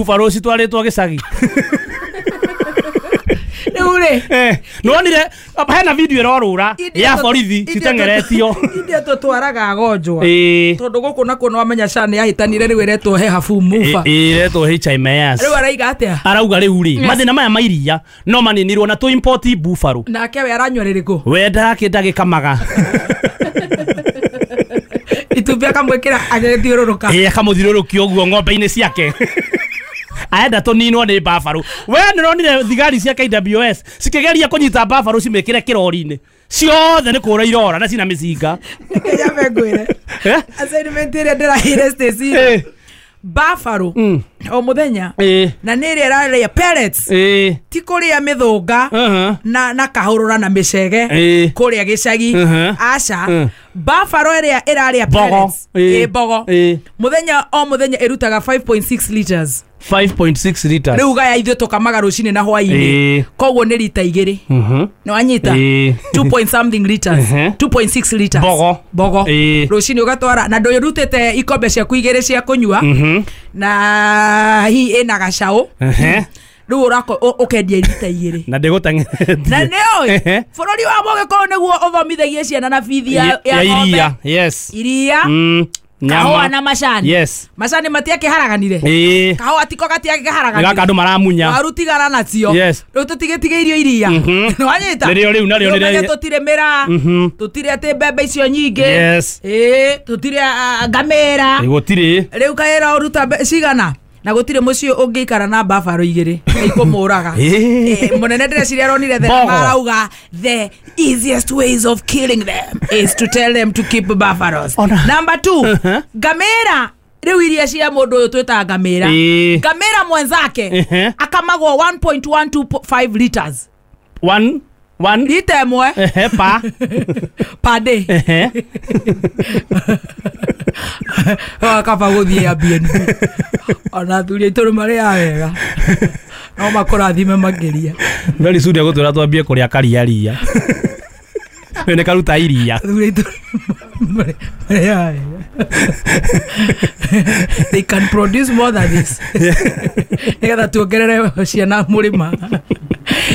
Buffalo citwarĩtwo gĩcagi. Rĩu rĩ, Nĩwonire hena video ĩrorũra ya borithi citeng'eretio. India tũtwaraga agonjwa. Ĩĩ. Tondũ gũkũ nakuo nĩwamenya SHA nĩ yahĩtanire, rĩu ĩretwo hehabu muba. Ĩretwo HMS. Rĩu araiga atĩa? Arauga rĩu rĩ, mathĩna maya ma iria no maninirwo na tũ import buffalo. Nake we aranyua rĩrĩkũ? We ndakĩnda gĩkamaga. Itumbĩ akamwĩkĩra agĩthiũrũrũka. Ĩĩ, akamũthiũrũrũkia ũguo ng'ombe-inĩ ciake. Aenda tũninwo nĩ buffalo. We nĩronire thigari cia KWS cikĩgeria kũnyita buffalo cimĩkĩre kĩrori-inĩ, ciothe nĩ kũra irora na cina mĩcinga. Reke nyambe ngwĩre. Eh? Assignment ĩrĩa ndĩraheire Stacy. Buffalo o mũthenya na nĩ ĩrĩa ĩrarĩa pellets, ti kũrĩa mĩthũnga na kahũrũra na mĩcege kũrĩa gĩcagi. Aca. Buffalo ĩrĩa ĩrarĩa Mbogo. pellets, ĩ mbogo, mũthenya o mũthenya ĩrutaga 5.6 liters. 5.6 liters. Rĩu gaya ithuĩ tũkamaga rũcinĩ na hwaĩ-inĩ, koguo nĩ rita 2. Nĩ wanyita? 2 point something liters. 2.6 liters. Mbogo. Mbogo. Rũcinĩ ũgatwara na ndũrutĩte ikombe ciaku 2 cia kũnyua na hihi ĩna gacaũ. Rĩu ũrako ũkendia rita 2. Na ndĩgũteng'eretie. Na nĩũĩ bũrũri wa mũgĩkũyũ nĩguo ũthomithagie ciana na bithi ya ya ng'ombe. Iria, yes. Iria, Nyama. kahũa na macani. Macani matiakĩharaganire. Kahũa tiko gatiakĩharaganire. Gaka andũ maramunya. Waru tigana nacio. Rĩu tũtigĩtigĩirio iria. Nĩwanyita? Nĩrĩo rĩu narĩo. Rĩu ũmenye tũtirĩ mĩraa, tũtirĩ atĩ mbembe icio nyingĩ. Ĩĩ, tũtirĩ ngamĩra. Gũtirĩ. Rĩu kaĩra ũruta cigana na gũtirĩ mũciĩ ũngĩikara na buffalo 2 ikũmũraga. Mũnene ndĩreciria aronire Mbogo. thenema, arauga the easiest ways of killing them is to tell them to keep buffaloes. Number 2, ngamĩra rĩu iria cia mũndũ ũyũ twĩtaga ngamĩra, ngamĩra mwenzake akamagwo 1.125 liters. One one Lita 1. Pa Per day. Kaba gũthiĩ Airbnb, ona athuri aitũ nĩ marĩaga wega, no makũrathime makĩria. Very soon egũtwĩra twambie kũrĩa karia ria nĩ karuta iria. Athuri aitũ marĩaga wega, they can produce more than this nĩgetha tuongerere ciana mũrĩma.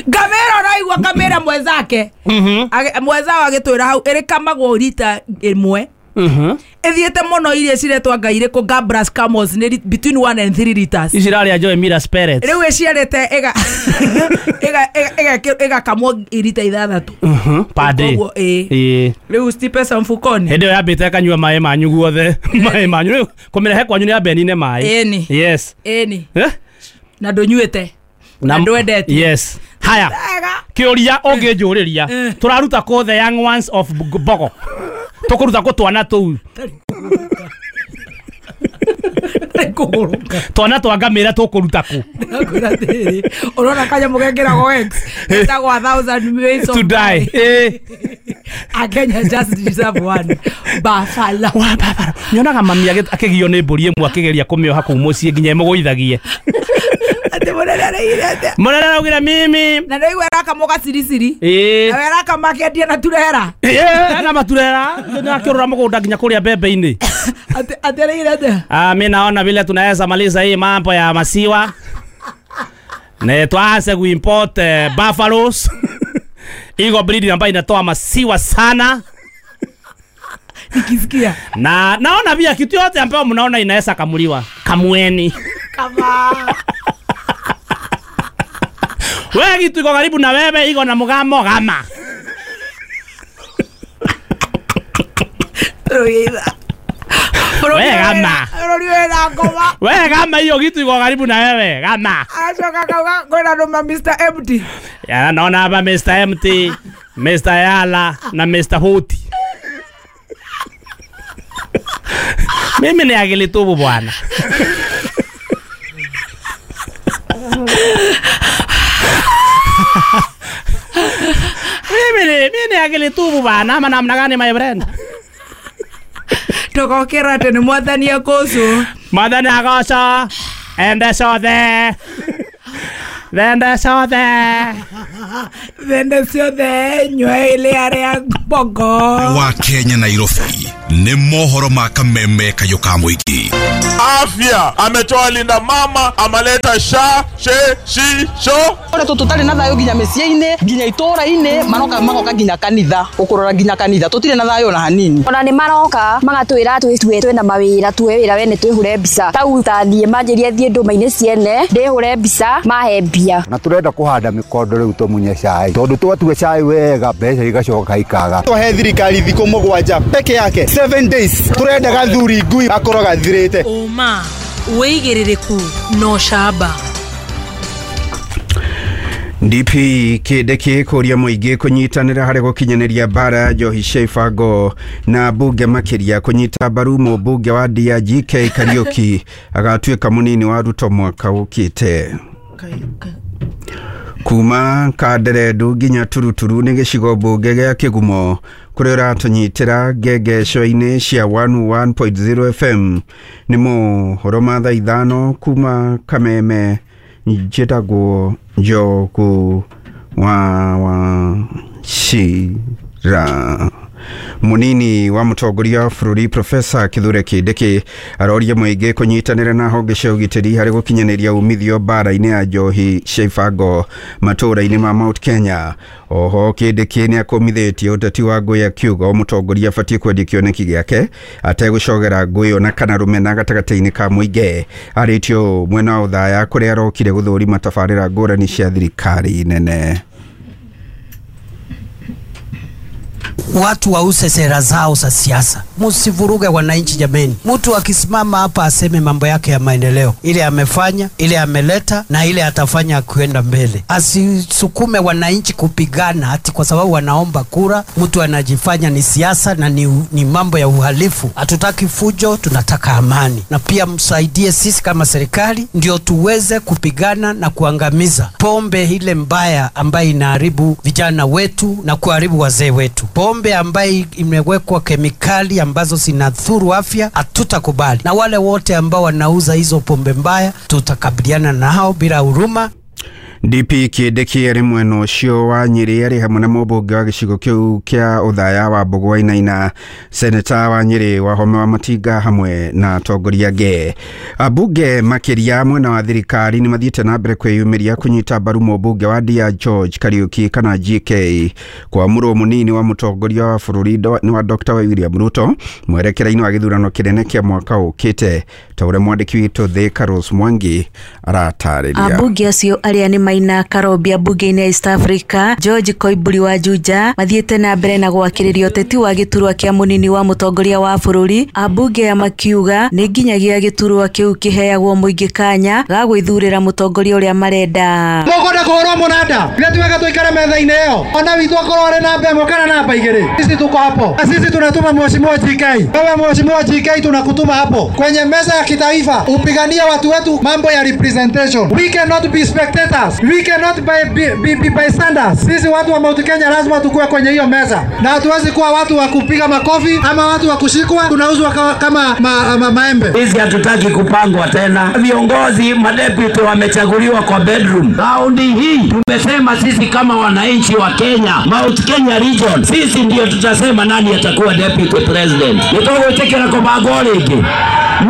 Ngamĩra, ũraigua? Ngamĩra mwenzake mwenzao agĩtwĩra hau ĩrĩkamagwo rita 1, ĩthiĩte mũno. Iria ciretwa ngai irĩkũ, Gambras camels, nĩ between 1 and 3 liters. Ici rarĩa Joy Miras pellets. Rĩu ĩciarĩte ĩgakamwo rita 6. Per day. Koguo, ĩĩ. Rĩu sti pesa mfukoni. Hĩndĩ ĩyo yambĩte ĩkanyua maĩ manyu guothe, maĩ manyu rĩu kũmĩrehe kwanyu nĩ yambe nine maĩ. Ĩni. Yes. Ĩni. Eh? Na ndũnyuĩte na ndwendete. Yes, haya. Wega. Kĩũria ũngĩnjũrĩria, tũraruta kũ the young ones of mbogo? Tũkũruta kũ twana tũu? Kũgũrũka. Twana twa ngamĩra tũkũruta kũ? Ndĩrakwĩra atĩrĩrĩ, ũrona kanyamũ gekĩragwo X getagwo a thousand ways of to die. Akenya just deserve one buffalo. Wa babara nyonaga mami akĩgio nĩ mbũri ĩmwe akĩgeria kũmĩoha kũu mũciĩ nginya ĩmũgũithagie. Atĩ mũnene araigire atĩa? Mũnene araugire mimi Na nĩwaigua arakama gacirisiri. Nawe arakama akĩendia na turera. Ĩĩ, na maturera akĩũrũra mũgũnda nginya kũrĩa mbembe-inĩ. Atĩ araigire atĩa? Ah, mi naona vile tunaweza maliza hii mambo ya masiwa ne tuanze kuimport buffaloes, iko breed ambayo inatoa masiwa sana. Nikisikia Na naona pia kitu yote ambayo mnaona inaweza kamuliwa, kamueni. Kama Wewe kitu iko karibu na wewe iko na mugamo, gama. Rũgĩra. We gama. Bũrũri wĩna ngoma. Wewe gama hiyo kitu iko karibu na wewe, gama. Agacoka akauga kwĩna nũma Mr. Empty. Ya, naona hapa Mr. Empty, Mr. Yala na Mr. Hoti. Mimi ni akili tupu bwana. Mimi ni akili tupu bwana, ama namna gani, my friend? Tũgokĩra atĩ nĩ mwathani akũcũ. Mwathani agoco, ende ciothe. Thende ciothe. Thende ciothe nyue ilĩa rĩa mbogo. Wa Kenya, Nairobi. Nĩ mohoro ma kameme kayũ ka mũingĩ. Afya ametoa Linda Mama, amaleta sha she shi sho. Ore tutari na thayo nginya mĩciĩ-inĩ, nginya itũra-inĩ, maroka magoka nginya kanitha, gũkũrora nginya kanitha, tũtirĩ na thayo na hanini. Ona nĩ maroka magatwĩra twĩtue twĩna mawĩra, tuoe wĩra wene twĩhure mbica. Tau tathiĩ manjĩrie thiĩ ndũma-inĩ ciene, ndĩhure mbica, mahe mbia. Na turenda kũhanda mĩkondo rĩu tũmunye cai, tondũ twatua cai wega mbeca igacoka ikaga. Twahe thirikari thikũ 7 peke yake, 7 days, turenda gathuri ngui akorwo gathirĩte. Ũma wĩigĩrĩrĩku no camba. DP Kindiki kũria mũingĩ kũnyitanĩra harĩ gũkinyanĩria mbara ya njohi cia ibango na mbunge makĩria kũnyita mbaru mũmbunge wa Ndia GK Kariuki agatuĩka mũnini wa Ruto mwaka ũkĩte. Kuma Kanderendu nginya Turuturu nĩ gĩcigo mbunge gĩa Kĩgumo kũrĩa ũratũnyitĩra ngengeco-inĩ cia 101.0 FM. Nĩ mohoro ma thaa 5 kuma Kameme. Njĩtagwo Njogu wa Wachira. Munini wa mũtongoria wa bũrũri Profesa Kithure Kindiki aroria mũingĩ kũnyitanĩra na honge cia ũgitĩri harĩ gũkinyanĩria umithio mbara-inĩ ya njohi cia ibango matũũra-inĩ ma Mount Kenya. Oho Kindiki nĩ akũmithĩtie ũteti wa ngũĩ akiuga o mũtongoria abatiĩ kwendia kĩoneki gĩake ategũcogera ngũĩ ona kana rũmena gatagatĩ-inĩ ka mũingĩ. Arĩtio mwena wa Othaya kũrĩa arokire gũthũrima tabarĩra ngũrani cia thirikari nene. Watu wause sera zao za siasa, msivuruge wananchi jameni. Mtu akisimama hapa aseme mambo yake ya maendeleo, ile amefanya, ile ameleta na ile atafanya kwenda mbele. Asisukume wananchi kupigana ati kwa sababu wanaomba kura. Mtu anajifanya ni siasa na ni mambo ya uhalifu. Hatutaki fujo, tunataka amani. Na pia msaidie sisi kama serikali ndio tuweze kupigana na kuangamiza pombe ile mbaya ambayo inaharibu vijana wetu na kuharibu wazee wetu. Pombe ambayo imewekwa kemikali ambazo zinadhuru afya hatutakubali. Na wale wote ambao wanauza hizo pombe mbaya tutakabiliana nao bila huruma. DP Kindiki arĩ mwena ũcio wa Nyĩrĩ arĩ hamwe na mũmbunge wa gĩcigo kĩu kĩa Othaya wa Mbũgũ Wainaina, seneta wa Nyĩrĩ Wahome wa Matinga hamwe na atongoria angĩ. Ambunge makĩria mwena wa thirikari nĩ mathiĩte na mbere kwĩyumĩria kũnyita mbaru mũmbunge wa Ndia George Kariuki kana GK kwamũrwo mũnini wa mũtongoria wa bũrũri nĩ wa Dr. William Ruto mwerekera-inĩ wa gĩthurano kĩnene kĩa mwaka ũkĩte, ta ũrĩa mwandĩki witũ Thika Rose Mwangi aratarĩria. Ambunge acio arĩa nĩ Maina Karobia bunge-inĩ ya East Africa, George Koimburi wa Juja mathiĩte na mbere na gwakĩrĩria ũteti wa gĩturwa kĩa mũnini wa mũtongoria wa bũrũri. Ambunge ya makiuga nĩ nginyagia gĩturwa kĩu kĩheagwo mũingĩ kanya ga gwĩthurĩra mũtongoria ũrĩa marenda. Mũkwenda kũhũrwo mũnanda rĩrĩa tuwega tũikare metha-inĩ ĩyo, ona witũ akorwo arĩ namba 1 kana namba 2, sisi tuko hapo na sisi tunatuma mheshimiwa GK. Wewe mheshimiwa GK, tunakutuma hapo kwenye meza ya kitaifa upiganie watu wetu mambo ya representation. We cannot be spectators. We cannot be bystanders. Sisi watu wa Mount Kenya lazima tukue kwenye hiyo meza, na hatuwezi kuwa watu wa kupiga makofi ama watu wa kushikwa tunauzwa kama maembe. Sisi hatutaki kupangwa tena. Viongozi madeputy wamechaguliwa kwa bedroom. Raundi hii tumesema sisi kama wananchi wa Kenya, Mount Kenya region, sisi ndio tutasema nani atakuwa deputy president. Nitogwetekera kwa rĩngĩ.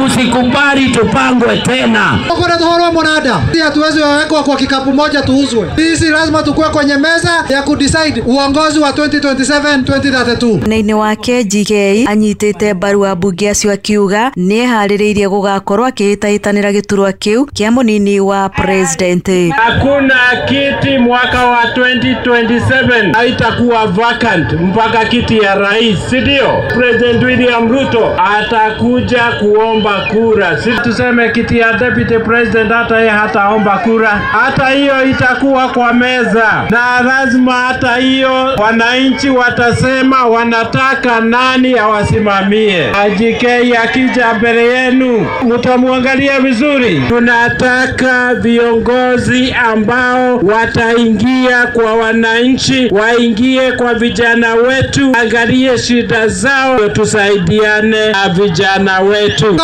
Msikubali tupangwe tena. Kuna tuhoro mwanada. Hatuwezi wekwa kwa kikapu moja tuuzwe. Sisi lazima tukue kwenye meza ya kudecide uongozi wa 2027 2032. Mwena-inĩ wake GK anyitĩte mbaru ambunge acio akiuga nĩeharĩrĩirie gũgakorwo akĩhĩtahĩtanĩra gĩturwa kĩu kĩa mũnini wa president. Hakuna kiti mwaka wa 2027 haitakuwa vacant mpaka kiti ya rais, si ndio? President William Ruto atakuja kuomba kura. Si tuseme kiti ya deputy president hata yeye hataomba kura. Hata hiyo itakuwa kwa meza, na lazima hata hiyo wananchi watasema wanataka nani awasimamie. GK akija mbele yenu mtamwangalia vizuri. Tunataka viongozi ambao wataingia kwa wananchi, waingie kwa vijana wetu, angalie shida zao, tusaidiane na vijana wetu.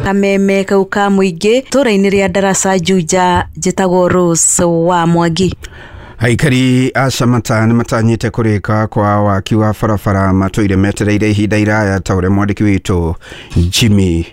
Kameme kau ka mũingĩ tũra-inĩ rĩa Darasa Juja, njĩtagwo Rose wa Mwangi. Aikari a Shamata nĩ matanyĩte kũrĩka kwa waki wa barabara matũire metereire ihinda iraya ta ũrĩa mwandĩki witũ Jimmy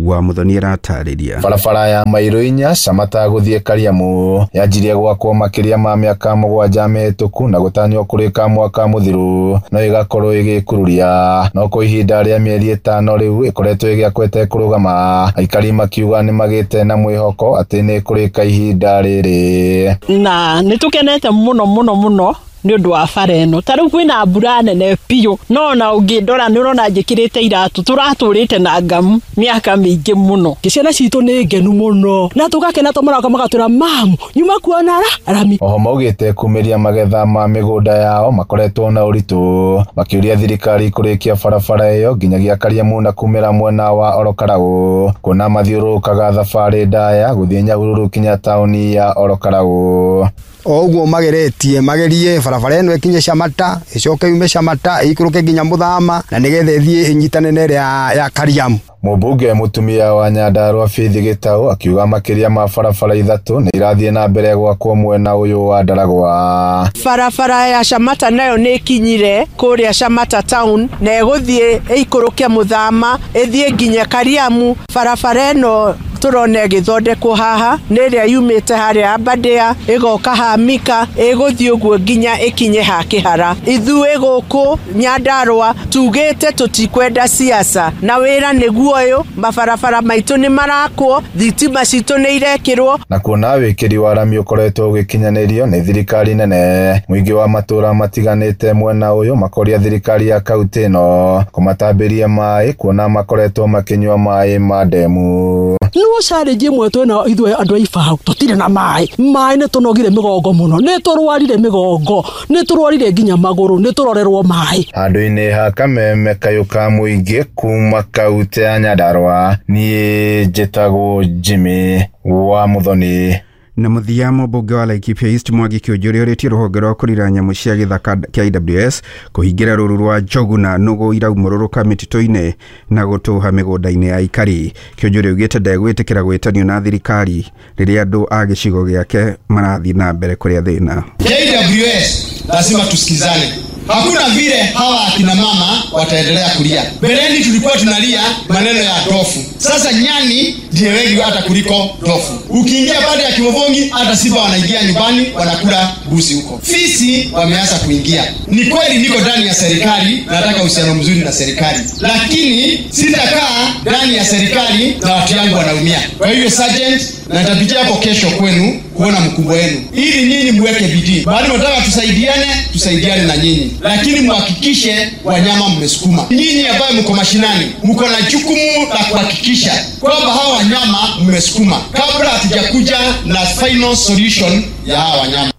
wa Muthoni aratarĩria. Barabara ya mairo 4 Shamata gũthiĩ Kariamu yanjirie gwakwo makĩria ma mĩaka 7 mĩhĩtũku na gũtanywo kũrĩka mwaka mũthiru no ĩgakorwo ĩgĩkururia no kwa ihinda rĩa mĩeri 5 rĩu ĩkoretwo ĩgĩakwo ĩtekũrũgama. Aikari makiuga nĩ magĩte na mwĩhoko atĩ nĩ kũrĩka ihinda rĩrĩ. Na nĩ tũkenete mũno mũno mũno nĩ ũndũ wa bara ĩno. Ta rĩu kwĩna mbura nene biũ, no ona ũngĩndora nĩ ũrona njĩkĩrĩte iratũ, tũratũrĩte na ngamu mĩaka mĩingĩ mũno. Ciana citũ nĩ ngenu mũno na tũgakena tondũ maroka magatwĩra mamu nyuma kuona rami. Oho maugĩte kumĩria magetha ma mĩgũnda yao makoretwo na ũritũ, makĩũria thirikari kũrĩkia barabara ĩyo nginyagia Kariamu na kumĩra mwena wa Orokarau, kuona mathiũrũrũkaga thabarĩ ndaya gũthiĩ Nyahururu kinya taũni ya Orokarau. O ũguo mageretie magerie barabara ĩno ĩkinye Shamata, ĩcoke yume Shamata ĩikũrũke nginya Mũthama na nĩgetha ĩthiĩ ĩnyitane na ĩrĩa ya Kariamu. Mũmbunge mũtumia wa Nyandarua Faith Gĩtaũ akiuga makĩria ma barabara 3 nĩ irathiĩ na mbere gwakwo mwena ũyũ wa Ndaragwa. Barabara ya Shamata nayo nĩ ĩkinyire kũrĩa Shamata town na ĩgũthiĩ ĩikũrũke Mũthama ĩthiĩ nginya Kariamu. Barabara ĩno tũrona ĩgĩthondekwo haha nĩ ĩrĩa yumĩte harĩa Aberdare ĩgoka Hamika ĩgũthiĩ ũguo nginya ĩkinye ha Kĩhara. Ithuĩ gũkũ Nyandarua tugĩte tũtikwenda siasa na wĩra nĩguo ũyũ, mabarabara maitũ nĩ marakwo, thitima citũ nĩ irekĩrwo. Na kuona wĩkĩri wa rami ũkoretwo ũgĩkinyanĩrio nĩ thirikari nene, mũingĩ wa matũra matiganĩte mwena ũyũ makoria thirikari ya kaunti ĩno kũmatambĩria maĩ kuona makoretwo makĩnyua maĩ ma ndemu. No challenge ĩmwe twĩna ithuĩ andũ a Ibao tũtirĩ na maĩ. Maĩ nĩ tũnogire mĩgongo mũno, nĩ tũrwarire mĩgongo, nĩ tũrwarire nginya magũrũ, nĩ tũrorerwo maĩ. Handũ-inĩ ha Kameme kayũ ka mũingĩ kuma kaunti ya Nyandarua, niĩ njĩtagwo Jimmy wa Muthoni. Na mũthia mũmbunge wa Laikipia East Mwangi Kĩũnjũrĩ ũrĩtie rũhonge rwa kũrira nyamũ cia gĩthaka KWS kũhingĩra rũru rwa njogu na nũgũ iraumũrũrũka mĩtitũ-inĩ na gũtũha mĩgũnda-inĩ ya aikari. Kĩũnjũrĩ augĩte ndegwĩtĩkĩra gwĩtanio na thirikari rĩrĩa andũ a gĩcigo gĩake marathiĩ na mbere kũrĩa thĩna. KWS lazima tusikizane. Hakuna vile hawa akina mama wataendelea kulia. Mbeleni tulikuwa tunalia maneno ya dofu. Sasa nyani ndiye wengi hata kuliko dofu. Ukiingia baada ya Kivovongi hata simba wanaingia nyumbani wanakula mbuzi huko. Fisi wameanza kuingia. Ni kweli niko ndani ya serikali, nataka uhusiano mzuri na serikali. Lakini sitakaa ndani ya serikali na watu yangu wanaumia. Kwa hivyo sergeant, na nitapitia hapo kesho kwenu kuona mkubwa wenu ili nyinyi muweke bidii. Bado nataka tusaidiane, tusaidiane na nyinyi. Lakini muhakikishe wanyama mmesukuma. Nyinyi ambao mko mashinani, mko na jukumu la kuhakikisha kwamba hawa wanyama mmesukuma kabla hatujakuja na final solution ya hawa wanyama.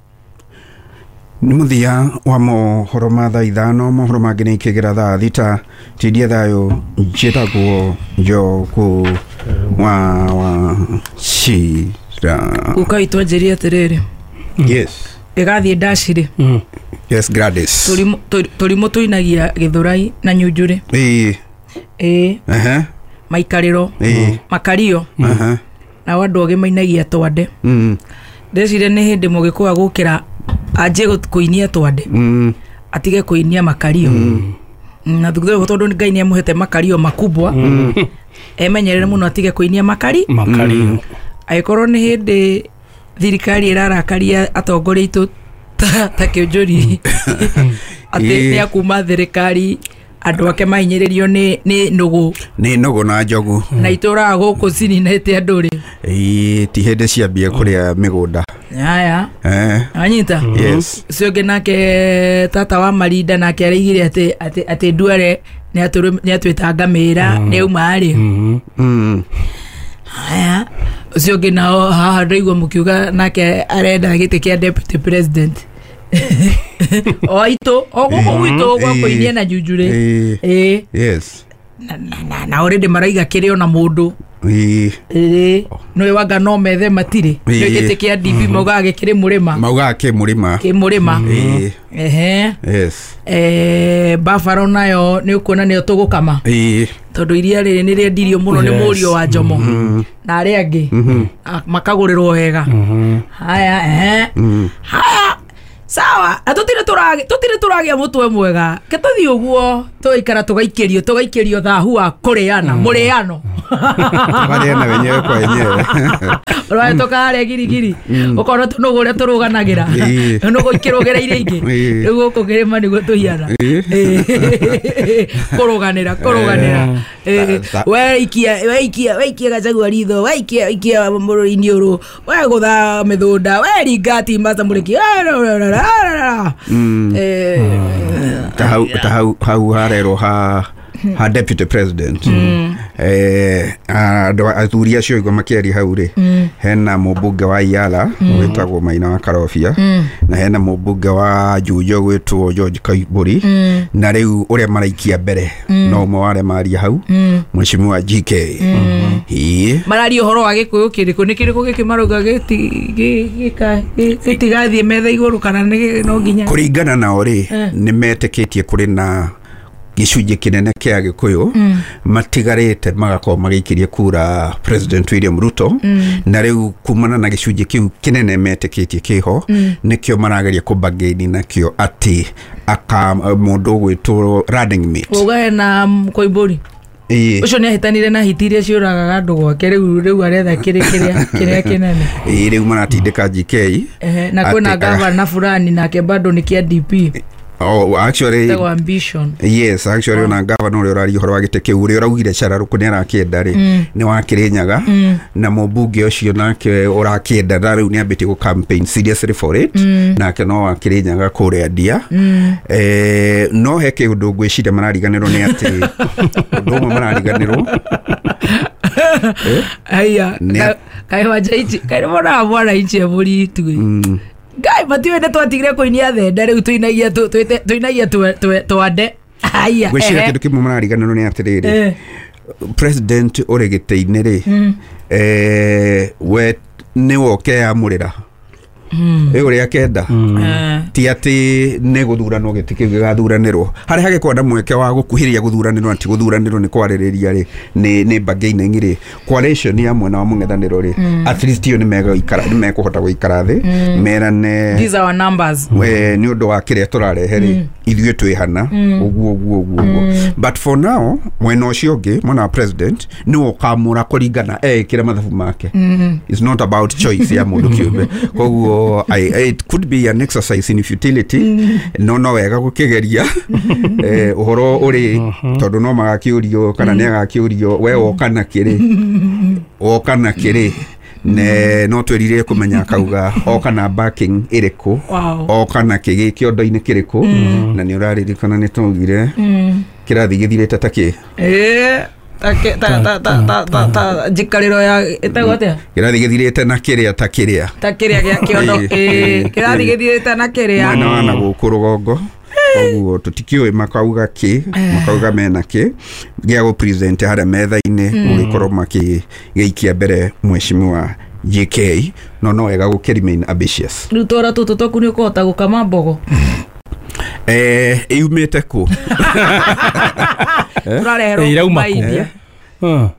Nĩ mũthia wa mohoro ma thaa 5, mohoro mangĩ nĩ ikĩgera thaa 6. Tindia thayũ, njĩtagwo Njogu wa Wachira. Guka witũ anjĩrire atĩrĩrĩ. Yes. Ĩgathiĩ ndacirĩ. Yes, Gladys. Tũrimũ tũinagia Gĩthũrai na Nyunjurĩ. Ĩĩ. Ĩĩ. Maikarĩro. Makario. Nao andũ ogĩ mainagia twande. Ndeciria nĩ hĩndĩ mũgĩkũyũ agũkĩra anjie kũinia twande. Atige kũinia makario. Na thutha ũguo tondũ Ngai nĩ amũhete makario makubwa. Emenyerere mũno atige kũinia makari. Makario. Angĩkorwo nĩ hĩndĩ thirikari ĩrarakaria atongoria aitũ ta Kĩũnjũri atĩ nĩ akuma thirikari andũ ake mahinyĩrĩrio nĩ nũgũ. Nĩ nũgũ na njogu. Na itũraga gũkũ cininĩte andũ rĩ. Ĩĩ, ti hĩndĩ ciambie kũrĩa mĩgũnda. Haya. Anyita. Yes. Ũcio ũngĩ nake tata wa Marinda nake araigire atĩ Nduare nĩ atwĩta ngamĩra nĩ auma rĩ. Haya. Ũcio ũngĩ nao haha ndaigua mũkiuga nake arenda gĩtĩ kĩa deputy president. O itũ, o gũkũ gwitũ gwa kũinia na Nyunjurĩ. Ĩĩ. Yes. Na already maraiga kĩrĩ ona mũndũ. Ĩĩ. Ĩĩ. Nĩ wanga no methe matirĩ. Nĩ gĩtĩ kĩa DP maugaga gĩkĩrĩ mũrĩma. Maugaga kĩ mũrĩma. Kĩ mũrĩma. Ĩĩ. Ehe. Yes. Buffalo nayo nĩ ũkuona nĩyo tũgũkama. Ĩĩ. Tondũ iria rĩrĩ nĩ rĩendirio mũno nĩ mũriũ wa Njomo. Na arĩa angĩ makagũrĩrwo wega. Haya, ehe. Haya. Sawa, na tutire turagia mutwe mwega. Ke tuthii uguo tuikara tugaikirio thahu wa kuriana, muriano. Mariana wenyewe kwa wenyewe. Rwa tukare girigiri. Ukona tunugu uria turuganagira. Nugu ikirugera iria ingi. Riu guku kirima niguo tuhiana. Kuruganira. We ikia Gachagua ritho, we ikia Mũrũri uru, we gutha mithunda, we ringati mata muriki. Ta hau harerwo ha deputy president. Athuri acio igwa makiaria hau ri, hena mũmbunge wa Iala wĩtagwo Maina wa Karobia, na hena mũmbunge wa Juja gwĩtwo George Kaiburi, na rĩu ũrĩa maraikia mbere no ũmwe wa arĩa maria hau, Mheshimiwa GK. Mararia ũhoro wa Gĩkũyũ kĩrĩkũ? Nĩ kĩrĩkũ gĩkĩ marauga gĩtigathiĩ metha igũrũ kana no nginya? Kũringana nao rĩ, nĩ metĩkĩtie kũrĩ na gĩcunjĩ kĩnene kĩa Gĩkũyũ matigarĩte magakorwo magĩikĩria kura President William Ruto, na rĩu kumana na gĩcunjĩ kĩu kĩnene metĩkĩtie kĩho, nĩkĩo marageria kũbagaini nakĩo atĩ aka mũndũ ũgwĩtwo running mate uga hena Koimbũri ucio nĩ ahĩtanire na hiti iria ciũragaga andũ gwake, rĩu aretha kĩrĩa kĩnene. Rĩu maratindĩka GK na kwĩna gavana fulani nake bado nĩ kĩa DP. Oh, actually, ambition. Yes, actually, ona governor ũrĩa ũraria ũhoro wa gĩtĩ kĩu ũrĩa ũraugire cararũkũ nĩ arakĩenda rĩ, nĩ wa Kĩrĩnyaga, na mũmbunge ũcio nake ũrakĩenda na rĩu nĩ ambĩtie gũ campaign seriously for it, nake no wa Kĩrĩnyaga kũrĩa Ndia. No he kĩũndũ ngwĩciria marariganĩrwo nĩ atĩ ũndũ ũmwe marariganĩrwo aya kaĩ wanjaichi kaĩ nĩmonaga mwananchi e mũritũ. Ngai matiũĩ nĩ twatigire kũinia thende rĩu tũinagia twande. Aya ngwĩciria kĩndũ kĩmwe marariganĩrwo nĩ atĩrĩrĩ, president ũrĩ gĩtĩ-inĩ rĩ, we nĩwe ũkeyamũrĩra ĩ ũrĩa akenda, ti atĩ nĩ gũthuranwo gĩtĩ kĩu gĩgathuranĩrwo harĩa hagĩkorwo na mweke wa gũkuhĩrĩria gũthuranĩrwo na ti gũthuranĩrwo nĩ kwarĩrĩria rĩ, nĩ bargaining rĩ, coalition ya mwena wa mũng'ethanĩro rĩ, at least iyo nĩ mekũhota gũikara thĩ merane these are our numbers, nĩ ũndũ wa kĩrĩa tũrarehe rĩ, ithuĩ twĩhana ũguo ũguo ũguo. But for now mwena ũcio ũngĩ, mwena wa president nĩwe ũkamũra kũringana eĩkĩre mathabu make. It's not about choice ya mũndũ kĩũmbe, koguo it could be an exercise in futility. No wega gũkĩgeria ũhoro ũrĩ tondũ no magakĩũrio kana nĩ agakĩũrio we woka na kĩrĩ, woka na kĩrĩ, ne no twĩrire kũmenya akauga oka na backing ĩrĩkũ, oka na kĩ kĩondo-inĩ kĩrĩkũ, na nĩ ũraririkana nĩ twaugire kĩrathi gĩthirĩte ta kĩ ta njikarĩro ya ĩtagwo atĩa, kĩrathi gĩthirĩte na kĩrĩa ta kĩrĩa ta kĩrĩa gĩa kĩondo, kĩrathi gĩthirĩte na kĩrĩa mwena wa na gũkũ rũgongo. Koguo tũtikĩũĩ makauga kĩ, makauga mena kĩ gĩa gũ present harĩa metha-inĩ gũgĩkorwo makĩgĩikia mbere Mheshimiwa JK, no wega gũkĩ remain ambitious. Rĩu twara tũtũ twaku nĩ ũkũhota gũkama mbogo? Ĩumĩte kũ? Tũrareherwo kuma India. Kuma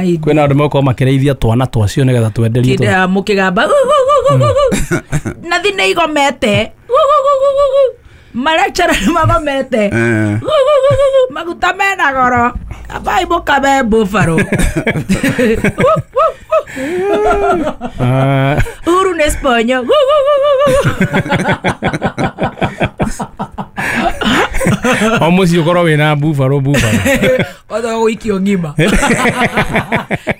India. Kwĩna andũ megũkorwo makĩrĩithia twana twacio nĩgetha twenderio kĩndũ mũkĩgamba nathi nĩ igomete, malecturer nĩ magomete, maguta mena goro, kambai mũkame Buffalo. Uhuru nĩ sponyo. O mũciĩ ũkorwo wĩna Buffalo. Othe gũikio ng'ima. Nĩ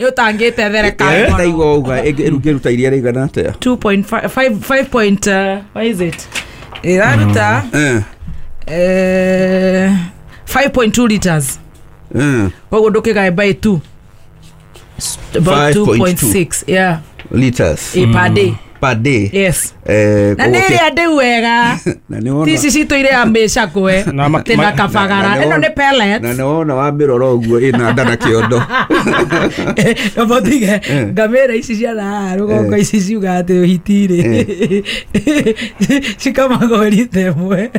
ũtangĩte thirikari. Ndaigua uga ĩrũngĩruta iria rĩigana atĩa? 2.5 5 what is it? Ĩraruta 5.2 liters. Koguo ndũkĩgae by 2. About 2.6, yeah. Liters. Per day. Per day. Yes. Na nĩ ĩrĩa ndĩu wega. Ti ici citũ iria mĩcakwe tĩna kabagara. Ĩno nĩ pellets. Na nĩ wona wa mĩrora ũguo ĩna nda na kĩondo. Kamũtige ngamĩra ici cia haha rũgongo ici ciugaga atĩ hiti rĩ cikamagwo rita ĩmwe.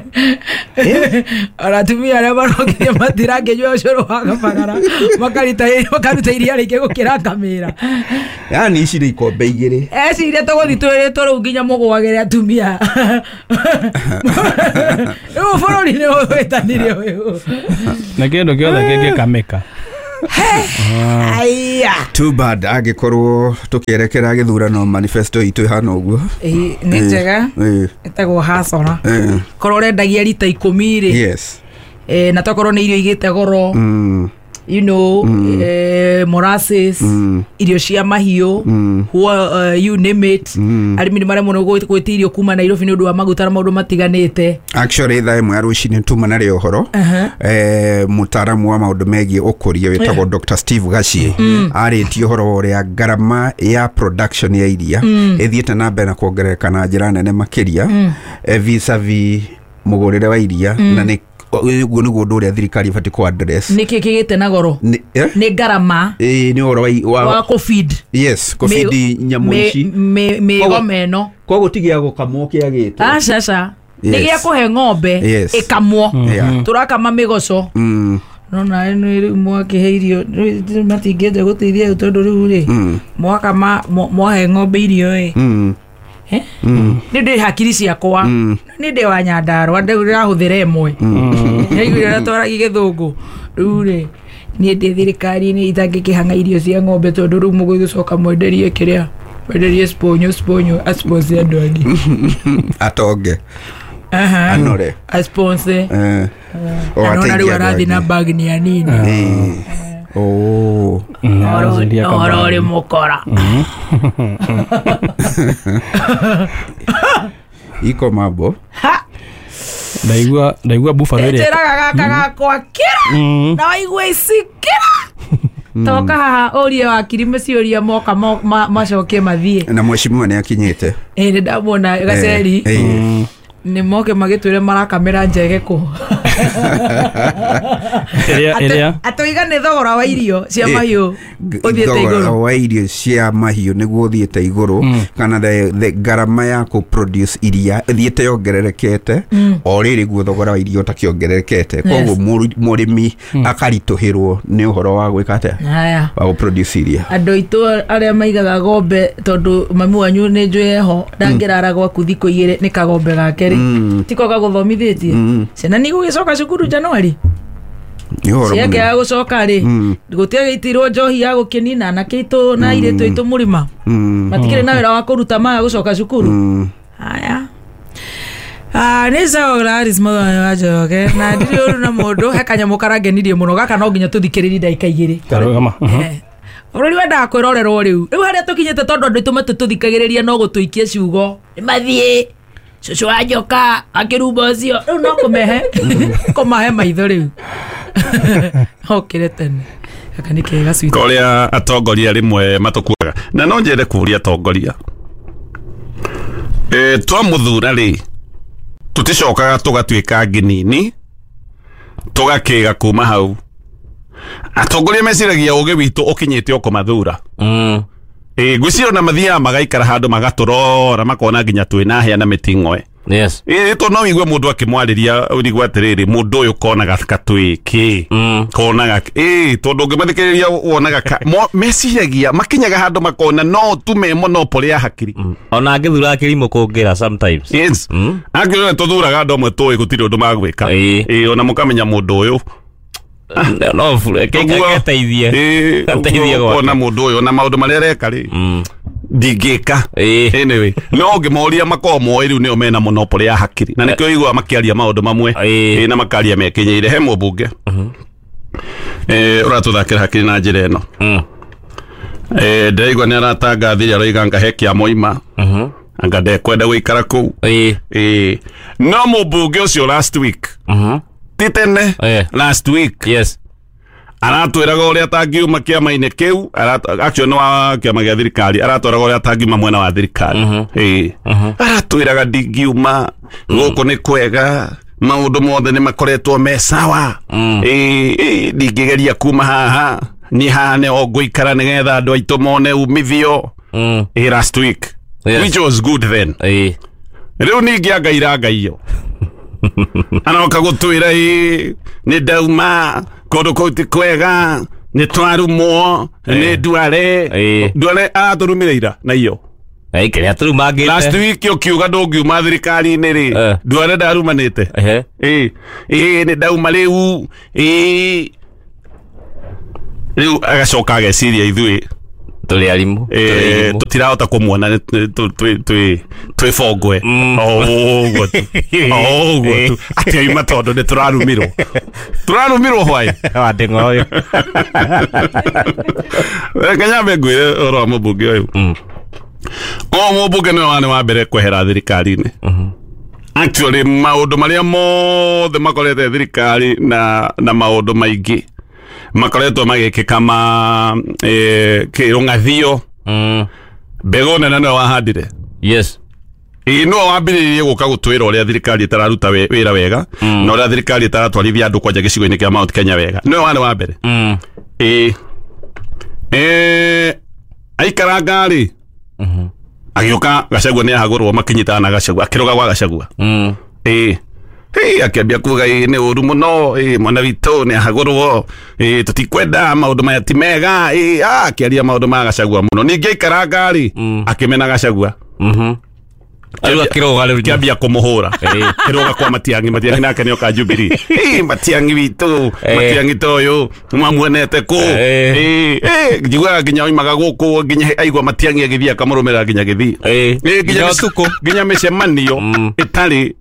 Ona atumia arĩa marokire matirangĩnyua ũcũrũ wa kabagara makaruta iria rĩingĩ gũkĩra ngamĩra. Yani ici nĩ ikombe igĩrĩ. Eciria tũgũthiĩ Twĩrĩtwo rĩu nginya mũgwagĩre atumia. Rĩu bũrũri nĩ wĩtanirie ũyũ. Na kĩndũ gĩothe kĩngĩkamĩka. Aya. Too bad angĩkorwo tũkĩerekera gĩthurano manifesto itũ ĩhana ũguo. Ĩ, nĩ njega. Ĩtagwo hasora. Korwo ũrendagia rita 10 rĩ. Yes. Na tokorwo nĩ irio igĩte goro. You know, molasses, irio cia mahiũ, you name it. Arĩmi nĩ maremwo nĩ gwĩtia irio kuma Nairobi nĩ ũndũ wa maguta na maũndũ matiganĩte. Actually thaa 1 ya rũcinĩ tuma narĩ ũhoro. Mũtaaramu wa maũndũ megiĩ ũkũria wĩtagwo Dr. Steve Gachie arĩtie ũhoro wa ũrĩa ngarama ya production ya iria ĩthiĩte na mbere na kuongerereka na njĩra nene makĩria vis-a-vis mũgũrĩre wa iria na nĩ ũguo nĩguo ũndũ ũrĩa thirikari ĩbatiĩ kũ address. Nĩkĩ kĩgĩte na goro? Nĩ ngarama nĩ ũhoro wa kũfeed. Yes, kũfeed nyamũ ici. Mĩgoma ĩno. Koguo ti gĩa gũkamwo kĩagĩte. Aca aca. Nĩ gĩa kũhe ng'ombe ĩkamwo. Tũrakama mĩgoco. No nawe nĩ rĩu mwakĩhe irio matingĩenda gũteithia tondũ rĩu rĩ mwakama mwahe ng'ombe irio ĩ. Nĩ ndĩ hakiri ciakwa nĩ ndĩ wa Nyandarua ndĩrahũthĩra ĩmwe nĩaiguire ũrĩa twaragia gĩthũngũ rĩu rĩ niĩ ndĩ thirikari-inĩ itangĩkĩhang'a irio cia ng'ombe tondũ rĩu mũgũgĩcoka mwenderie kĩrĩa mwenderie sponyo sponyo asponse andũ angĩ atonge anore asponse na rĩu arathiĩ na bag nĩ anini. Oh, ũhoro ũrĩ mũkora. Iko mambo. Ndaigua buffalo ĩrĩa ĩnjĩraga gaka gakwa kĩra na waigua ici kĩra toka haha ũrie wakiri mũciũria moka macokie mathiĩ. Na mheshimiwa nĩ akinyĩte. Nĩ ndamuona Gaceri. Nĩ moke magĩtwĩre marakamĩra njege kũ. Atũiga nĩ thogora wa irio cia mahiũ ũthiĩte igũrũ. Thogora wa irio cia mahiũ nĩguo ũthiĩte igũrũ kana the ngarama ya kũ produce iria ĩthiĩte yongererekete o rĩrĩ guo thogora wa irio ũtakĩongererekete koguo mũrĩmi akaritũhĩrwo nĩ ũhoro wa gwĩka atĩa wa gũ produce iria. Andũ aitũ arĩa maigaga ng'ombe tondũ mami wanyu nĩ njũĩ eho ndangĩrara gwaku thikũ 2 nĩ kagombe gake rĩ tiko gagũthomithĩtie ciana nĩ igũgĩcoka cukuru Januari ciake ya gũcoka rĩ gũtiagĩitirwo njohi ya gũkĩnina anake aitũ na airĩtu aitũ mũrĩma matikĩrĩ na wĩra wa kũruta maya gũcoka cukuru. Haya nĩ sawa Gladys Muthoni wa Njoroge na ndirĩ ũru na mũndũ he kanyamũ karangenirie mũno gaka no nginya tũthikĩrĩrie ndagĩka 2. Bũrũri wendaga kwĩrorerwo rĩu rĩu harĩa tũkinyĩte tondũ andũ aitũ matitũthikagĩrĩria no gũtũikia ciugo nĩ mathiĩ cũcũ wa njoka akĩrumba ũcio rĩu no kũmehe kũmahe maitho rĩu okĩre tene gaka nĩ kega sweet. Kũrĩa atongoria rĩmwe matũkuaga na no njende kũũria atongoria twamũthura rĩ tũticokaga tũgatuĩka nginini tũgakĩga kuma hau. Atongoria meciragia ũgĩ witũ ũkinyĩte o kũmathura. Ngwĩciria ona mathiaga magaikara handũ magatũrora makona nginya twĩna hĩa na mĩting'oe. Yes. To no igue mũndũ akĩmwarĩria ũrigwo atĩrĩrĩ mũndũ ũyũ konaga katwĩ kĩ konaga tondũ ũngĩmathikĩrĩria wonaga meciragia makinyaga handũ makona no tume monopoly ya hakiri. Ona angĩthura kĩrimũ kũngĩra sometimes. Yes. Angĩrora tũthuraga andũ amwe tũĩ gũtirĩ ũndũ magwĩka. Ona mũkamenya mũndũ ũyũ no geteithie geteithie ona mũndũ ũyũ na maũndũ marĩa areka rĩ ndingĩka. Anyway no ũngĩmoria makorwo moĩ rĩu nĩo mena monopoly ya hakiri na nĩkĩo ũiguaga makĩaria maũndũ mamwe na makaria mekinyĩire. He mũmbunge ũratũthakĩra hakiri na njĩra ĩno ndĩraigua nĩ aratangathire aroiga ngahe kĩa moima anga ndekwenda gũikara kũu. No mũmbunge ũcio last week ti tene last week yes aratwĩraga ũrĩa atangiuma kĩama-inĩ kĩu actually nĩ wa kĩama gĩa thirikari aratwĩraga ũrĩa atangiuma mwena wa thirikari. Aratwĩraga ndingiuma gũkũ nĩ kwega maũndũ mothe nĩ makoretwo me sawa ndingĩgeria kuma haha ni haha nĩ o ngũikara nĩgetha andũ aitũ mone umithio. Last week which was good then. Rĩu ningĩ angaira ngaiyo aroka gũtwĩra nĩ ndauma kũndũ kũu ti kwega nĩ twarumwo nĩ Duale Duale aratũrumire ira na iyo Kĩrĩa tũrumangĩte. Last week ũkiuga ndũngiuma thirikari-inĩ rĩ, nduare ndarumanĩte. Ĩ nĩ ndauma rĩu. Ĩ rĩu agacoka ageciria ithuĩ tũrĩ arimũ, tũtirahota kũmuona twĩ bongwe o ũguo tu, o ũguo tu atĩ aima tondũ nĩ tũrarumirwo, tũrarumirwo hwaĩ wandĩng'a ũyũ. Reke nyambe ngwĩre ũhoro wa mũmbunge ũyũ. O mũmbunge nĩwe warĩ wa mbere kwehera thirikari-inĩ. Actually maũndũ marĩa mothe makorete thirikari na maũndũ maingĩ makoretwo magĩkĩka ma kĩrũng'athio. Mbegũ nene nĩwe wahandire. Yes. Ĩ nĩwe wambĩrĩirie gũka gũtwĩra ũrĩa thirikari ĩtararuta wĩra wega na ũrĩa thirikari ĩtaratwarithia andũ kwanja gĩcigo-inĩ kĩa Mount Kenya wega. Nĩwe warĩ wa mbere. Ĩ aikaranga rĩ, agĩũka Gachagua nĩ ahagũrwo, makinyitana na Gachagua, akĩrũga gwa Gachagua. Ĩ hei akĩambia kuga ĩ nĩ ũru mũno, ĩ mwana witũ nĩ ahagũrwo, ĩ tũtikwenda maũndũ maya ti mega, ĩ akĩaria maũndũ ma Gachagua mũno. Ningĩ aikaranga rĩ, akĩmena Gachagua. Rĩu akĩrũga rĩu kĩambia kũmũhũra, kĩrũga kwa Matiang'i. Matiang'i nake nĩoka Jubilee. Ĩ Matiang'i witũ, Matiang'i ta ũyũ mwamuonete kũ? Ĩ njiguaga nginya oimaga gũkũ nginya aigua Matiang'i agĩthiĩ akamũrũmĩrĩra nginya gĩthiĩ. Ĩ nginya mĩcemanio ĩtarĩ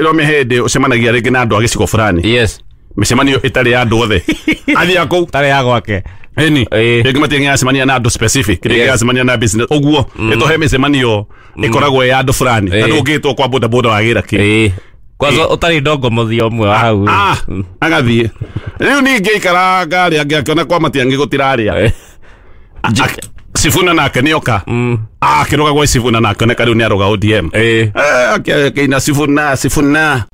ĩro mĩhĩndĩ ũcemanagia rĩngĩ na andũ a gĩcigo fulani. Yes. Mĩcemanio ĩtarĩ ya andũ othe athiĩ kũu tarĩ ya gwake. Ĩni rĩngĩ Matiang'i acemania na andũ specific, rĩngĩ acemania na business ũguo ĩtũhe mĩcemanio ĩkoragwo ya andũ fulani na ndũngĩtwo kwa boda boda wagĩra kĩ. Kwanza ũtarĩ ndongo mũthia ũmwe wa hau. Agathiĩ rĩu ningĩ aikaranga rĩ, angĩ akĩona kwa Matiang'i gũtirarĩa. Sifuna nake nĩoka, akĩrũga gwa Sifuna nake oneka rĩu nĩarũga ODM. Akĩina Sifuna, Sifuna,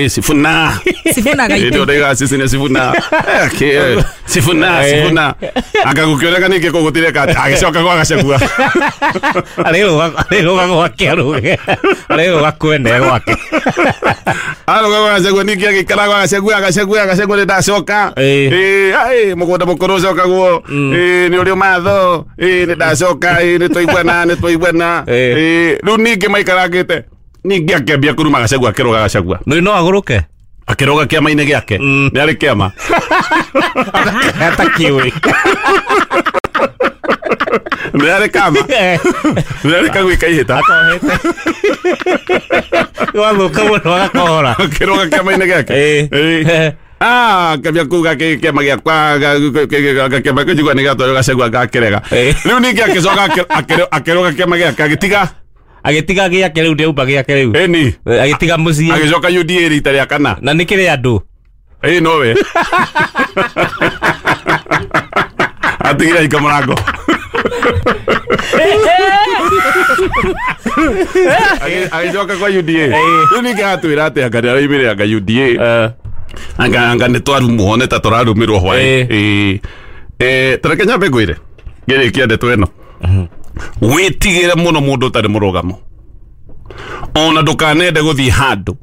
Sifuna. Sifuna gaitũ. Ndio ndaiga sisi ni Sifuna. Sifuna, Sifuna. Akagũkĩoneka ningĩ kũu gũtireka atĩ agĩcoka gwa Gachagua. Arĩrũga gwake, arũge arĩrũga kwene gwake. Arũga gwa Gachagua ningĩ agĩikara gwa Gachagua, Gachagua, Gachagua nĩ ndacoka. Mũgũnda mũkũrũ ũcokagwo. Nĩ ũrĩ matho. Nĩ ndacoka, nĩ twaiguana, nĩ twaiguana. Rĩu ningĩ maikarangĩte. Ningĩ akĩambia kũruma Gachagua, akĩrũga Gachagua. No agũrũke? Akĩrũga kĩama-inĩ gĩake. Nĩ arĩ kĩama. Atakiũĩ. Nĩ arĩ kama. Nĩ arĩ kagui kaihĩta. Akohete. Gwathũka mũno agakohora. Akĩrũga kĩama-inĩ gĩake. Akĩambia kuga kĩama gĩakwa, kĩama kĩnjigua nĩ gĩatwarwo Gachagua ngakĩrega. Rĩu ningĩ agĩcoka akĩrũga kĩama gĩake agĩtiga. Agĩtiga gĩake rĩu ndĩaumba gĩake rĩu. Ĩni. Agĩtiga mũciĩ. Agĩcoka UDA rita rĩa kana. Na nĩ kĩrĩ andũ. Ĩ nowe. Atigire hinga mũrango. Agĩcoka kwa UDA. Rĩu ningĩ atwĩra atĩ anga nĩaraumire anga UDA. Anga nĩ twarumwo nĩ ta tũrarumirwo hwaĩ. Tareke nyambe ngwĩre ngĩrĩkia ndeto ĩno. Wĩtigĩre mũno mũndũ ũtarĩ mũrũgamo. Ona ndũkanende gũthiĩ handũ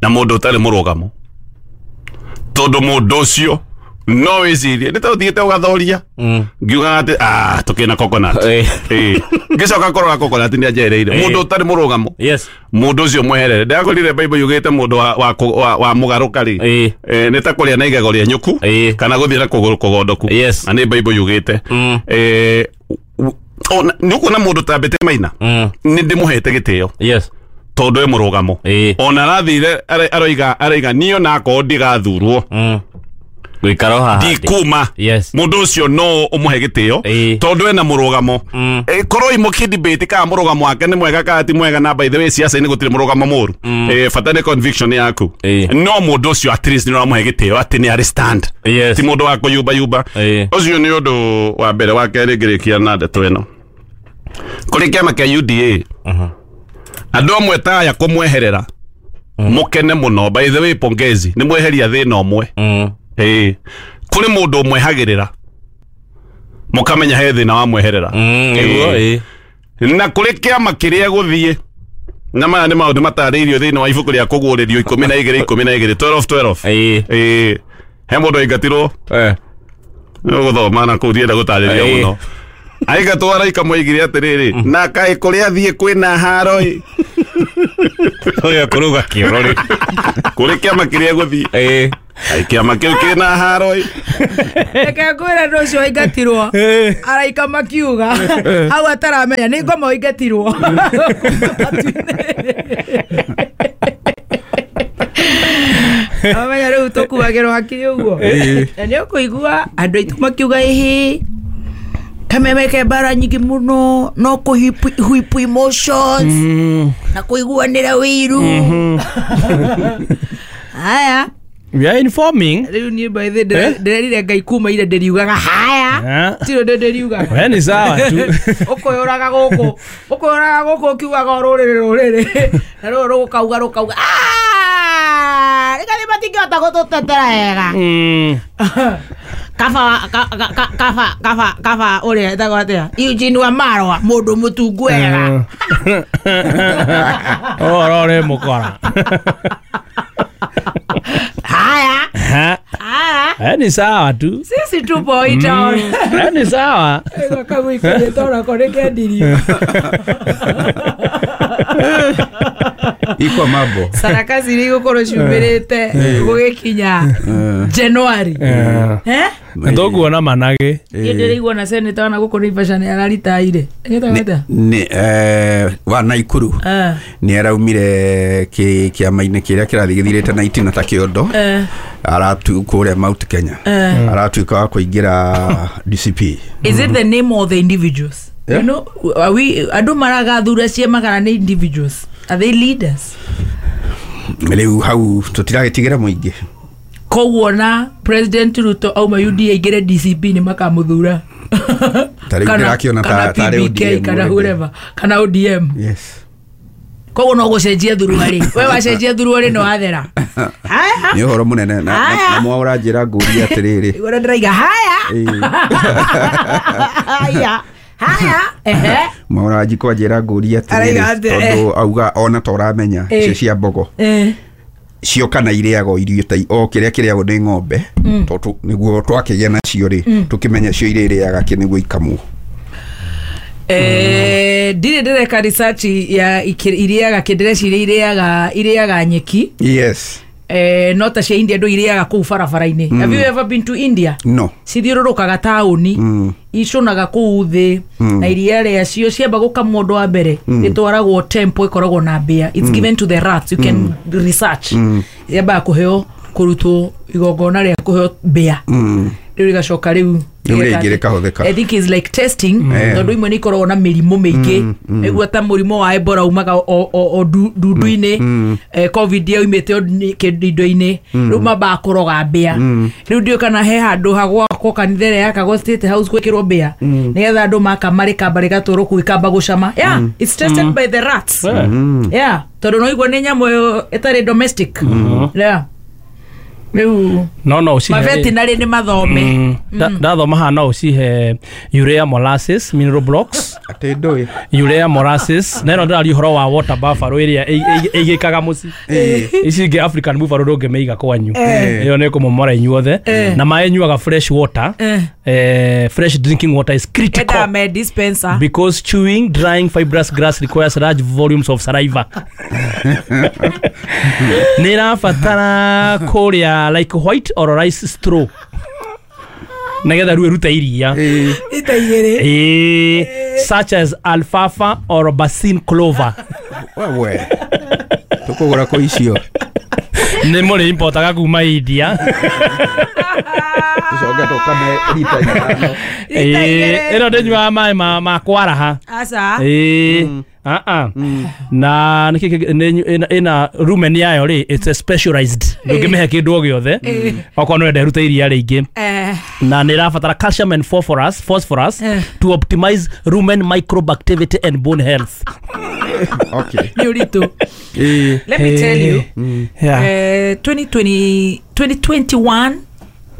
na mũndũ ũtarĩ mũrũgamo, tondũ mũndũ ũcio no wĩcirie nĩ ta ũthiĩte ũgathoria ngiugaga atĩ tũkĩna coconut. Ngĩcoka kũrora coconut nĩ anjereire. Mũndũ ũtarĩ mũrũgamo, mũndũ ũcio mweherere. Ndĩrakorire Bible yugĩte mũndũ wa mũgarũka rĩ, nĩ ta kũrĩa na igego rĩa nyũku kana gũthiĩ na kũgũrũ kũgondoku. Na nĩ Bible yugĩte. Nĩ ũkuona mũndũ ta Mbete Maina nĩ ndĩmũhete gĩtĩo tondũ e mũrũgamo. Ona arathire aroiga niĩ ona akorwo ndigathurwo gũikara o haha ndikuma. Mũndũ ũcio no ũmũhe gĩtĩo tondũ ena mũrũgamo. Korwo imũkĩ-debate kana mũrũgamo wake nĩ mwega kana ti mwega, na by the way ciaca-inĩ gũtirĩ mũrũgamo mũru. Bata nĩ conviction yaku. No mũndũ ũcio at least nĩ ũramũhe gĩtĩo atĩ nĩ arĩ stand, ti mũndũ wa kũyumbayumba. Ũcio nĩ ũndũ wa mbere. Wa kerĩ ngĩrĩkia na ndeto ĩno, kũrĩ kĩama kĩa UDA andũ amwe ta aya kũmweherera mũkene mũno. By the way pongezi, nĩ mweheria thĩna ũmwe. Kũrĩ mũndũ ũmwehagĩrĩra mũkamenya he thĩna wa mweherera. Na kũrĩ kĩama kĩrĩa gũthiĩ, na maya nĩ maũndũ matarĩirio thĩinĩ wa ibuku rĩa kũguũrĩrio 12 12 12 12. He mũndũ aingatirwo nĩ gũthoma na kũu ndienda gũtarĩria mũno. Aingatwo araika moigire atĩrĩrĩ na kaĩ kũrĩa athiĩ kwĩna haro ĩ. Ũyũ kũruga kĩoro rĩ. Kũrĩ kĩama kĩrĩa gũthiĩ. Ĩĩ. Ai kĩama kĩu kĩna haro ĩ. Reke ngwĩre andũ ũcio waingatirwo araika makiuga hau ataramenya nĩ ngoma waingatirwo. Amenya rĩu tũkuagĩrwo hakiri ũguo. Na nĩ ũkũigua andũ aitũ makiuga ĩhĩ kameme ke bara nyingĩ mũno no kũ emotions na kũiguanĩra wĩiru. Haya. We are informing. Rĩu niĩ by the ndĩrerire Ngai kuma ira ndĩriugaga haya. Tiro ndĩriugaga. We ni sawa tu. Ũkũyũraga gũkũ. Ũkũyũraga gũkũ ũkiugaga o rũrĩrĩ rũrĩrĩ. Na rũrũ rũkauga rũkauga. Ah! Rĩka matingĩhota gũtũtetera wega. Kaba kaba kaba kaba ũrĩa etagwo atĩa? Eugene wa Marwa mũndũ mũtungu wega. Ũrore mũkora. Haya. Haya. Ni sawa tu. Sisi tupo itown. Ni sawa. Kagwikire tora kore kendirio. Iko mambo. Sarakazi ri gukorwo ciumĩrĩte gũgĩkinya January. Eh? Ndoguona manage. Niĩ ndĩraigua na senator ona gũkũ Naivasha nĩ araritaire. Ĩgĩtagwo atĩa? Nĩ wa Naikuru. Nĩ araumire kĩama-inĩ kĩrĩa kĩrathiĩ gĩthirĩte na itina ta kĩondo. Aratu kũrĩa Mount Kenya. Aratuĩka wa kũingĩra DCP. Is it the name of the individuals? Yeah. You know, are we andũ maragathura ciama kana nĩ individuals? Are they leaders? Rĩu hau tũtiragĩtigĩra mũingĩ. Koguo na President Ruto auma UDA aingĩre DCP nĩ makamũthura. Kana tarĩ ODM kana whoever kana ODM. Yes. Koguo no gũcenjia thuruarĩ. We wacenjia thuruarĩ no wathera. Haya. Nĩ ũhoro mũnene na mwa ũranjĩra ngũria atĩrĩrĩ. Igũrũ ndĩraiga haya. Haya. Haya. Ehe. Mwaũranji kwanjĩra ngũria atĩrĩrĩ tondũ auga ona ta ũramenya icio cia mbogo. Cio kana irĩagwo irio ta o kĩrĩa kĩrĩagwo nĩ ng'ombe tondũ nĩguo twakĩgĩa nacio rĩ tũkĩmenya cio irĩrĩaga kĩ nĩguo ikamwo. Ndirĩ ndĩreka research ya irĩaga kĩ ndĩreciria irĩaga nyeki. Yes. No ta cia India andũ irĩaga kũu barabara-inĩ. Have you ever been to India? No. Cithiũrũrũkaga taũni icunaga kũu thĩ na iria rĩacio ciamba gũkamwo ũndũ wa mbere ĩtwaragwo temple ĩkoragwo na mbĩa. It's given to the rats. You can research. Ciambaga kũheo kũrutwo igongona rĩa kũheo mbĩa. Rĩu rĩgacoka rĩu rĩngĩ rĩkahũthĩka. I think it's like testing tondũ imwe nĩ ikoragwo na mĩrimũ mĩingĩ. Nĩguo ta mũrimũ wa Ebola umaga o ndundu-inĩ, COVID yaumĩte kĩndũ-inĩ, rĩu mambaga kũroga mbĩa. Rĩu ndiũĩ kana he handũ hagwakwo kanitha ĩrĩa yakagwo State House gwĩkĩrwo mbĩa nĩgetha andũ makama rĩkamba rĩgatwarwo kũu ikamba gũcama. Yeah, it's tested by the rats. Yeah, tondũ no igua nĩ nyamũ ĩyo ĩtarĩ domestic. Yeah. Rĩu no ucihe mavetinarĩ nĩ mathome. Ndathoma haha no ucihe urea molasses mineral blocks. Atĩ ndũĩ urea molasses na ĩno ndĩraria ũhoro wa water buffalo ĩrĩa ĩigĩkaga mũciĩ. Ici ingĩ African buffalo ndũngĩmĩiga kwanyu. Ĩyo nĩ kũmomora inyuothe. Na maĩ nyuaga fresh water. Fresh drinking water is critical. Enda dispenser. Because chewing drying fibrous grass requires large volumes of saliva. Nĩ ĩrabatara kũrĩa like white or rice straw nĩgetha rĩu ĩrute iria ita igĩrĩ, such as alfalfa or basin clover. Wewe tũkũgũra kũ icio nĩ mũrĩ importaga kuma India. Tũcoke tũkame rita ithano. Ĩno ndĩnyuaga maĩ ma kwaraha. Aca. Na ĩna rumen yayo rĩ, it's a specialized. Ndũngĩmĩhe kĩndũ o gĩothe okorwo nĩ wenda ĩrute iria rĩingĩ. Na nĩ ĩrabatara calcium and phosphorus to optimize rumen microbe activity and bone health. Okay. Nĩ ũritũ. Let me tell you, 2020, 2021,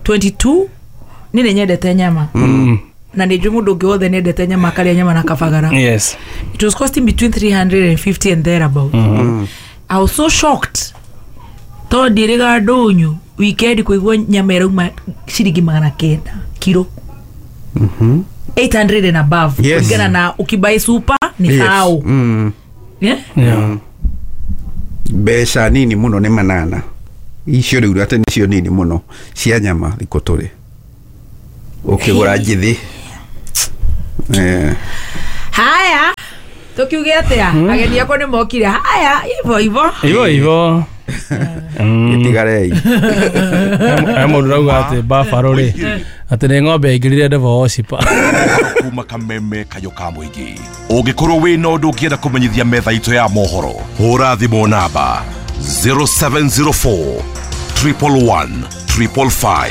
22 nĩ nĩ nyendete nyama. Na nĩ njũĩ mũndũ ũngĩ wothe nĩendete nyama akarĩa nyama na kabagara. Yes. It was costing between 350 and thereabout. I was so shocked. Tondũ ndĩrĩga ndũnyũ weekend kũigua nyama ĩrauma ciringi 900 kiro. 800 and above. Yes. Kulingana na ukibai super ni thao. Yeah? Yeah. Mbeca nini muno nĩ manana icio rĩu atĩ nĩcio nini mũno cia nyama thikũ tũrĩ ũkĩgũra njĩthĩ. Haya, tukiuge atia ageni akwa nĩ mokire. Haya, ivo ivo ivo ivo itigarei. Mũndũ rauga atĩ Buffalo rĩ atĩ nĩ ng'ombe yaingĩrire devil worshiper. Kuma kameme kayo ka mũingĩ. Ũngĩkorwo wĩna ũndũ ũngĩenda kũmenyithia metha itũ ya mohoro, hũra thimũ namba 0704 111 555.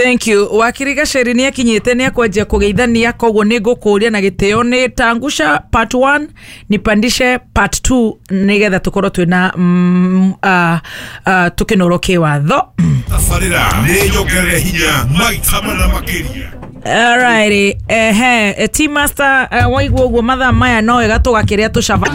Thank you. Wakiri Gacheri nĩ akinyĩte nĩ akwanjia kũgeithania, koguo nĩ ngũkũria na gĩtĩo nĩ tangusha part 1 nipandishe part 2 nĩgetha tũkorwo twĩna tũkĩnorwo kĩwatho. Tabarĩra nĩ nyongerere hinya maita mana makĩria. Alrighty, ehe, Team Master, waigua ũguo mathaa maya no wega tũgakĩrĩa tũcaba.